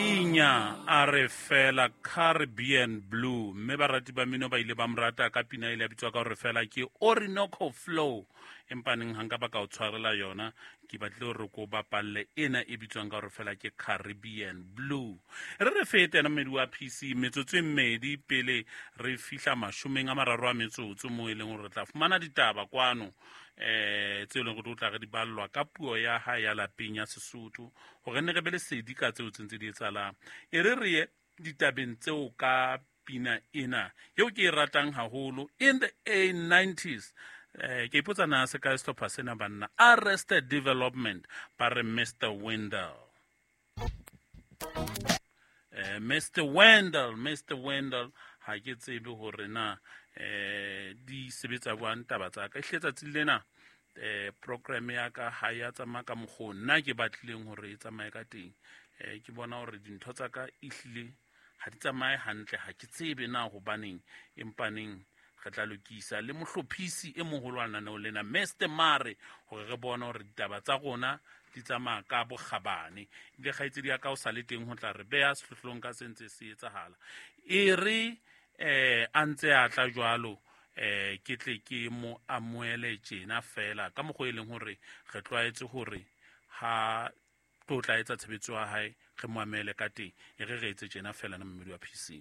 Inya a re fela Caribbean Blue, mme barati ba mmino ba ile ba mo rata ka pina ile ya bitswa ka gore fela ke Orinoco Flow. Empa neng ga nka ba ka o tshwarela yona, ke batlile gore ko bapalle ena e bitswang ka gore fela ke Caribbean Blue. Re fete ena mmedi wa PC metsotso e mmedi pele re fihla 30 a metsotso, mo e leng gore re tla fumana ditaba kwano tse e leng gore o tla re di ballwa ka puo ya hae ya lapeng ya Sesotho, gore ne re be lesedi ka tseo tse ntse di etsahalang. E re re ye ditabeng tseo ka pina ena eo ke e ratang haholo in the a 90s. Ke ipotsa na se ka sehlopha sena banna Arrested Development ba re Mr Wendell. Mr Wendell, Mr Wendell, ha ke tsebe hore na di sebetsa jwang taba tsa ka. Ehlile tsatsing lena program ya ka ha ya tsamaya ka mokgwa nna ke batlileng hore e tsamaye ka teng. Ke bona hore dintho tsa ka ehlile ha di tsamaye hantle, ha ke tsebe na hobaneng, empaneng re tla lokisa le mohlophisi e moholo wa lenaneo lena Mr Mare hore re bone hore ditaba tsa rona di tsamaya ka bokgabane. Ebile kgaitsedi ya ka o sa le teng ho tla re beha sehlohlolong ka se ntse se etsahala. E re a ntse a tla jwalo, ke tle ke mo amohele tjena fela ka mokgwa e leng hore re tlwaetse hore ha tlo tla etsa tshebetso ya hae re mo amele ka teng. E re re etse tjena fela na mmedi wa PC.